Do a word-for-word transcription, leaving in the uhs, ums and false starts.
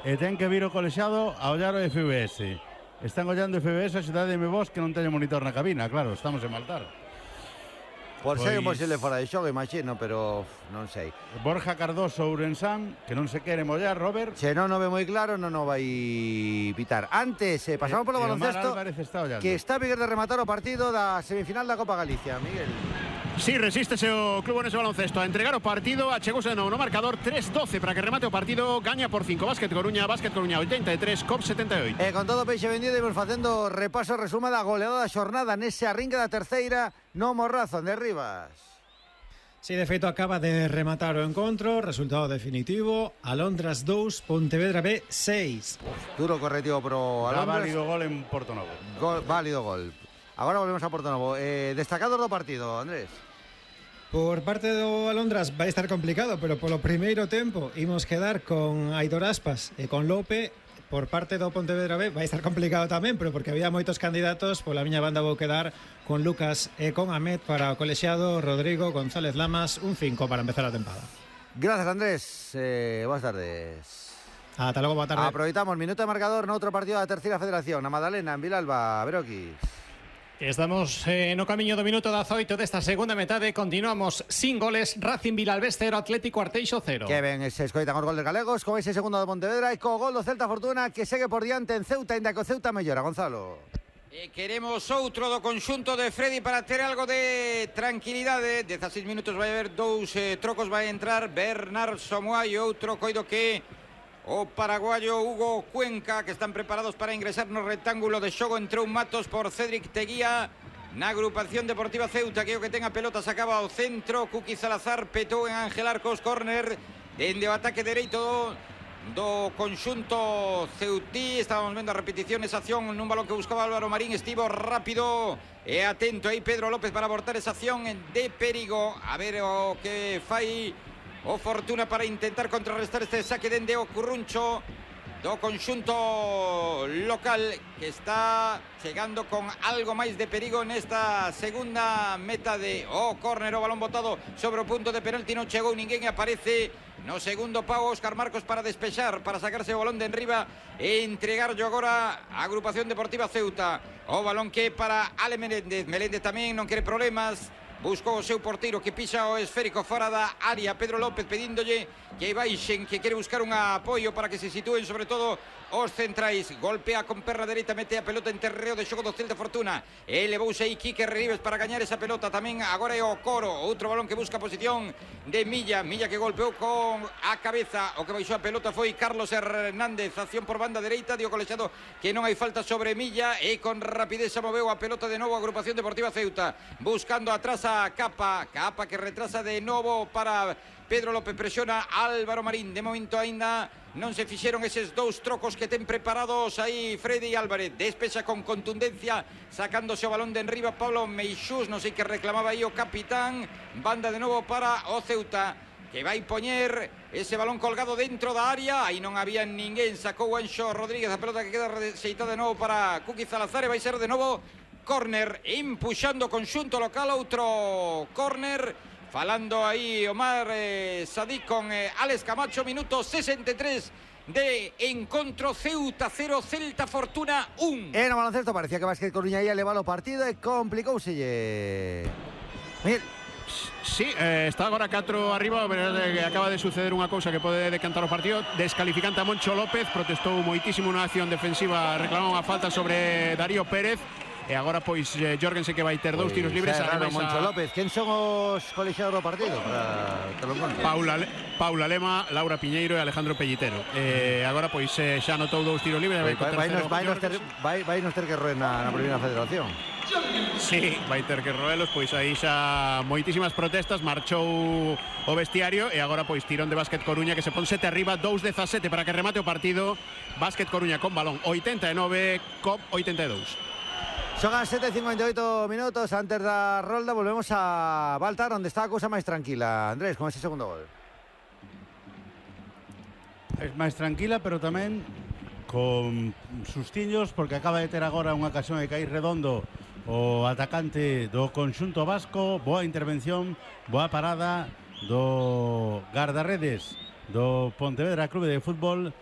e ten que vir o colexiado a ollar o F B S. Están ollando F B S a cidade de Mebos que non teño monitor na cabina, claro, estamos en Maltar. Por pois... ser imposible fora de xogo, imagino, pero uf, non sei. Borja Cardoso Ourensán, que non se quere mollar, Robert. Se non o ve moi claro, non o vai pitar. Antes, eh, pasamos polo baloncesto, está que está Miguel de rematar o partido da semifinal da Copa Galicia. Miguel. Sí, resístese o club nese baloncesto a entregar o partido, achegouse de novo no marcador tres doce para que remate o partido, gaña por cinco Básquet Coruña, Básquet Coruña oitenta e tres, C O P setenta e oito. E con todo peixe vendido imos facendo repaso resuma da goleada da xornada nese arrinque da terceira no Morrazo de Rivas. Sí, de feito acaba de rematar o encontro, resultado definitivo, Alondras dous, Pontevedra B seis. Uf, duro correctivo pro Alondras. Válido gol en Portonovo. Gol, válido gol. Agora volvemos a Portonovo. Eh, destacados do partido, Andrés. Por parte do Alondras vai estar complicado, pero polo primeiro tempo imos quedar con Aitor Aspas e con Lope. Por parte do Pontevedra B vai estar complicado tamén, pero porque había moitos candidatos, pola miña banda vou quedar con Lucas e con Ahmed para o colexiado Rodrigo González Lamas, un cinco para empezar a tempada. Gracias, Andrés. Eh, boas tardes. Ata logo, boa tarde. Aproveitamos minuto de marcador no outro partido da terceira federación, a Madalena, en Vilalba, Beroquis. Estamos eh, no camiño do minuto dezaoito desta segunda metade. Continuamos sin goles. Racing Vilalbés cero, Atlético Arteixo cero. Que ben, se escoitan os goles galegos con ese segundo do Pontevedra e co gol do Celta Fortuna que segue por diante en Ceuta, ainda que o Ceuta mellora. Gonzalo. E queremos outro do conxunto de Freddy para ter algo de tranquilidade. dezaseis minutos vai haber dous eh, trocos, vai entrar Bernard Somoai e outro coido que o paraguayo Hugo Cuenca, que están preparados para ingresar no rectángulo de xogo. Entrou Matos por Cédric Teguía na agrupación deportiva Ceuta, que o que ten a pelota sacaba ao centro. Cuqui Salazar petou en Ángel Arcos, córner dende o ataque dereito do, do conxunto ceutí. Estábamos vendo a repetición esa acción nun balón que buscaba Álvaro Marín. Estivo rápido e atento aí Pedro López para abortar esa acción de perigo. A ver o que fai o Fortuna para intentar contrarrestar este saque dende o Curruncho do conxunto local, que está chegando con algo máis de perigo nesta segunda meta de o oh, córner, o balón botado sobre o punto de penalti, non chegou ninguén e aparece no segundo pau Óscar Marcos para despexar, para sacarse o balón de enriba e entregarlo agora a agrupación deportiva Ceuta. O balón que para Ale Meléndez, Meléndez tamén non quere problemas, buscou o seu porteiro que pisa o esférico fora da área. Pedro López pedíndolle que baixen, que quere buscar un apoio para que se sitúen sobre todo os centrais. Golpea con perna dereita, mete a pelota en terreo de xogo do Celta Fortuna. Elevouse aí Quique Rives para gañar esa pelota. Tamén agora é o Coro, outro balón que busca posición de Milla. Milla que golpeou con a cabeza. O que baixou a pelota foi Carlos Hernández. Acción por banda dereita, dio colexado que non hai falta sobre Milla e con rapidez se moveu a pelota de novo a agrupación deportiva Ceuta. Buscando atrás a Capa, Capa que retrasa de novo para Pedro López, presiona Álvaro Marín. De momento aínda non se fixeron eses dous trocos que ten preparados aí Freddy Álvarez. Despexa con contundencia, sacándose o balón de enriba Pablo Meixús, non sei que reclamaba aí o capitán. Banda de novo para o Ceuta, que vai poñer ese balón colgado dentro da área. Aí non había ninguén, sacou Anxo Rodríguez, a pelota que queda rexeitada de novo para Cuqui Salazar e vai ser de novo córner, empuxando o conxunto local. Outro córner, falando aí Omar eh, Sadik con eh, Alex Camacho. Minuto sesenta e tres de encontro. Ceuta cero, Celta Fortuna un. En o baloncesto parecía que Básquet Coruña ia levar o partido e complicouselle. Miguel. Sí, eh, está agora catro arriba. eh, Acaba de suceder unha cousa que pode decantar o partido. Descalificante a Moncho López. Protestou moitísimo na acción defensiva, reclamou unha falta sobre Darío Pérez. E agora pois eh, Jorgensen, que vai ter dous tiros libres. Raro, Moncho a... López. Quen son os colexiados do partido? Para que lo conte. Paula, Paula Lema, Laura Piñeiro e Alejandro Pellitero. eh, Agora pois eh, xa anotou dous tiros libres. Vai, vai, vai, nos, vai, nos ter, vai, vai nos ter que roer na, na primeira federación. Sí, vai ter que roelos. Pois aí xa moitísimas protestas. Marchou o vestiario e agora pois tirón de Básquet Coruña, que se pon sete arriba, dous dezasete para que remate o partido. Básquet Coruña con balón oitenta e nove, C O P oitenta e dous. Son as sete e cincuenta e oito minutos. Antes da rolda volvemos a Baltar, onde está a cousa máis tranquila, Andrés, con ese segundo gol. Es máis tranquila, pero tamén con sustiños, porque acaba de ter agora unha ocasión de cair redondo o atacante do conxunto vasco. Boa intervención, boa parada do guardarredes do Pontevedra Clube de Fútbol,